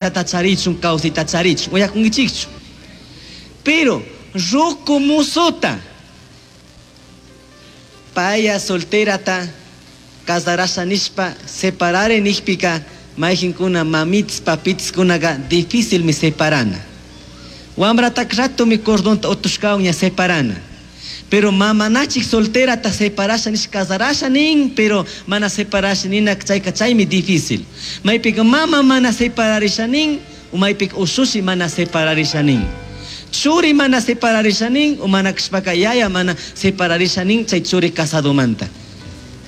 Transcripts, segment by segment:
Charichun kawsayta charichun uyakunkichikchu. Pero ruku musuta paya solterata casarasha nishpa separare nishpika mayjinkuna mamits papitskunaqa difícilmi separana. Wamratak ratomi cordonta utushkawan ña separana. Pero mamanachik solterata separasha nish casarasha nin, pero mana separasha nina chayka chaymi difícil. Maypika mama mana separarisha nin, maypika ushushi mana separarisha nin. Churi mana separarisha nin, mana kashpaka yaya mana separarisha nin chay churi casadomanta.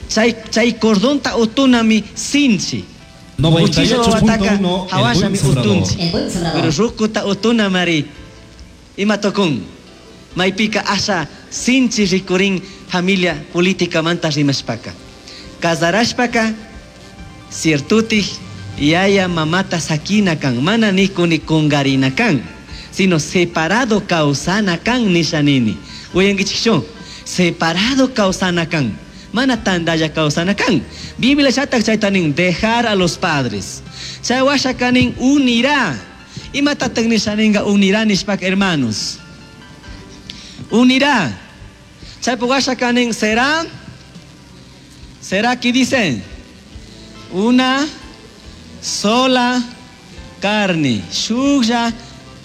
Chay chay cordonta utunami sinchi. Uchilla wawataka 98.1 El hawashami Buen Sembrador. utunchi. El Buen Sembrador. Pero rukuta utuna mari ima tukun. Maypika asha sinchi rikurin familia políticamanta rimashpaka. Casarashpaka ciertutik yaya mamata sakina kan, mana nikuni kungarina kan, sino separado kawsana kan nisha nini. Uyankichikchu? Separado kawsana kan, mana tandalla kawsana kan. Biblia shatak chayta nin, dejar a los padres. Chay washa kanin unirá. Imatataq nisha ninga unirá nishpaka, hermanos? Unirá. Chaypi washa kanin será, será que dicen una sola carne. Shuklla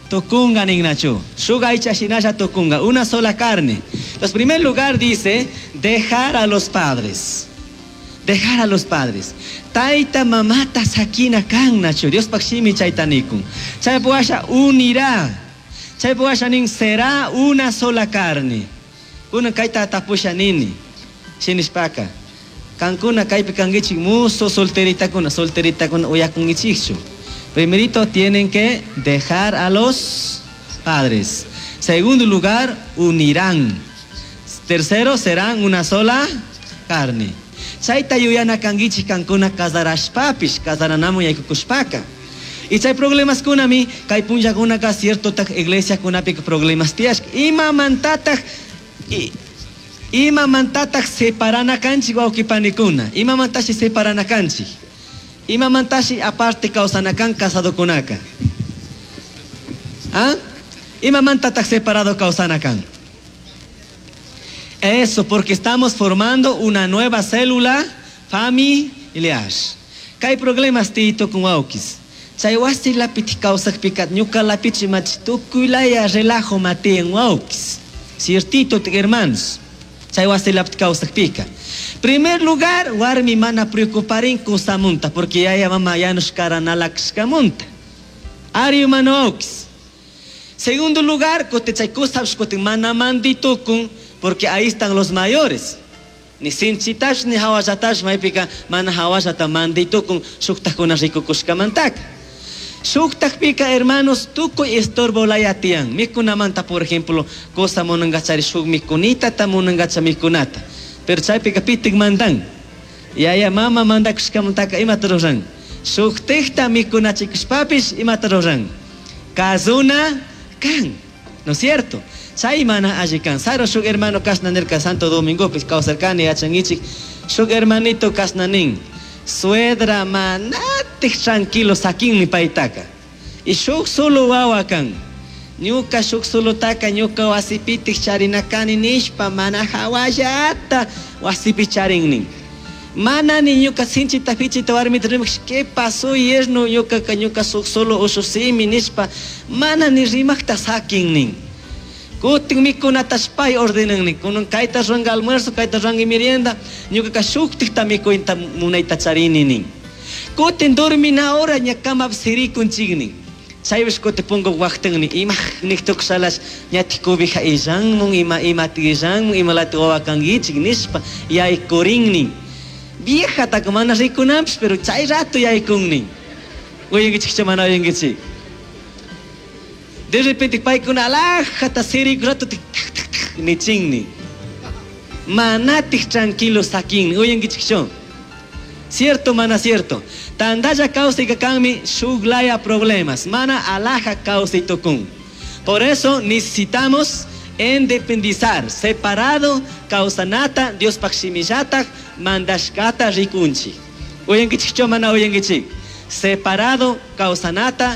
tukunga ningnachu. Shuk aycha shinalla tukunga. Una sola carne. Entonces, en primer lugar dice, dejar a los padres. Dejar a los padres. Taita mamata sakina kan nachu. Diospaj shimi chayta nikun. Chaypi washa unirá. Chaypi washa nin será una sola carne. Kuna kayta tapusha nini. Shinishpaka. Kankuna kaypi kankichik muso solteritakuna, solteritakuna uyakunkichikchu. Primerito tienen que dejar a los padres. Segundo lugar, unirán. Tercero, serán una sola carne. Chayta yuyana kankichik kankuna casarashpapish, casaranamun yaykukushpaka. Y chay problemas kunami, kay punllakunaka cierto tak iglesia kunapika problemas tiyashka. Imamantataj imamantataj separana kanchik wawqipanikuna? Imamantashi separana kanchik? Imamantashi aparte kawsana kan casadokunaka? ¿Ah? Imamantataj separado kawsana kan? Eso, porque estamos formando una nueva célula familiar. Kay problemas tito con wawkis. Chay wasi lapiti kawsakpika ñuka lapichi machi tukuylaya relajo matiyan wawkis. Ciertito, hermanos. Chay wasi lapiti kawsakpika. Primer lugar, warmi mana preocuparin kusamunta, porque yaya mama yanush karanalakshkamunta. Ari humano wawkis. Segundo lugar, kutin chay kusapish kutin mana manditukun, porque ahí están los mayores. Ni sinchitash ni hawallatash maypika mana hawallata manditukun shuktakuna rikukushkamantaka. Shuktakpika, hermanos, tukuy estorbo laya tiyan. Mikunamanta, por ejemplo, cosa munangachari shuk mikunita ta munangacha mikunata. Pero chaypika pitik mandan. Yaya mama mandakushkamantaka imata ruran. Shuktikta mikunachikushpapish imata ruran. Kazuna kan. ¿No es cierto? Chay mana alli kan. Saro shuk hermano kashna nirka Santo Domingo pis kawsarkani yachankichik. Shuk hermanito kashna nin. Suedra manatik tranquilo sakinmi paytaka. Y shuk solo wawa kan. Ñuka shuk solotaka ñuka wasipitik charinakani nishpa mana hawallata wasipi charin nin. Mana ni ñuka sinchita fichita warmita rimak, ¿qué pasó yerno? Ñuka ka ñuka shuk solo ushusimi nishpa mana ni rimakta sakin nin. Kutin mikunatash pay ordenan nin. Kunan kayta ruranka almuerzo, kayta ruranka merienda, ñuka ka shuktikta mikuyta munayta charini nin. Kutin dormina hora ña kamapi sirikunchik nin. Chaypish kutin punku waqtan nin. Ima niktukushalash ñatik cobija illanmun, ima imatik illanmun, imalati wawa kankichik nishpa yaykurin nin. Viejataka mana rikunanpish, pero chay rato yaykun nin. Uyankichikchu mana uyankichik? De repente paykuna alajata siriku rato tik tak tak tak nichin nin. Manatik tranquilo sakin nin. Uyankichikchu? Cierto, mana cierto. Tandalla kawsayka kanmi shuklaya problemas. Mana alaja kawsay tukun. Por eso necesitamos independizar, separado kawsanata, Diospaj shimillataj mandashkata rikunchik. Uyankichikchu mana uyankichik? Separado kawsanata.